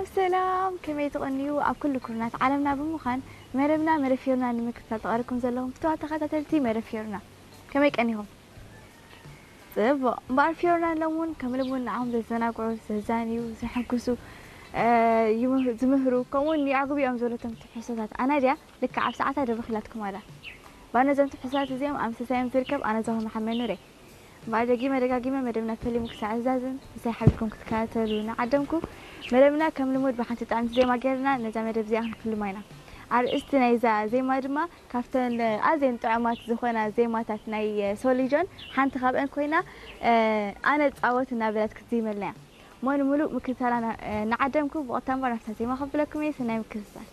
ሰላም፣ ከመይ ትቐንዩ? ኣብ ኩሉ ኩርናት ዓለምና ብምዃን መደብና መደብ ፊዮርና ንምክትታል ተቐርኩም ዘለኹም ፍትዋት ተኸታተልቲ መደብ ፊዮርና፣ ከመይ ቀኒኹም? ጽቡቕ። እምበኣር ፊዮርና ሎሚ እውን ከም ልሙድ ንዓኹም ዘዘናግዑ፣ ዘዛንዩ፣ ዘሐጉሱ፣ እ፣ ይምህ-፣ ዝምህሩ፣ ከምኡ እውን የዕጉብ እዮም ዝበለቶም ትሕዝቶታት ኣናድያ ልክዕ ኣብ ሰዓታ ደርቢኽላትኩም ኣላ። እምበኣር ነዞም ትሕዝቶታት እዚኦም ኣብ ምስሳዮም ዝርከብ ኣነ ዛኹም መሓመድ ኑር እየ። እምበኣር ደጊመ ደጋጊመ መደብና ፈሊሙ ክሳዕ ዝዛዝም ምስሳይ ሓቢርኩም ክትከታተሉ እናዓደምኩ፣ መደብና ከም ልሙድ ብሓንቲ ጥዕምቲ ዜማ ጌርና ነዛ መደብ እዚኣ ክንፍልማ ኢና። ኣርእስቲ ናይዛ ዜማ ድማ ካብተን ኣዝየን ጥዑማት ዝኾና ዜማታት ናይ ሶሊጆን ሓንቲ ካብአን ኮይና፣ እ፣ ኣነ ጻወት እናበለት ክትዝይመልና እያ። እሞ ንምሉእ ምክትታላ ና-፣ እ፣ እናዓደምኩ ብቐጥታ እምበር ናብታ ዜማ ከብለኩም እየ። ሰናይ ምክትታል።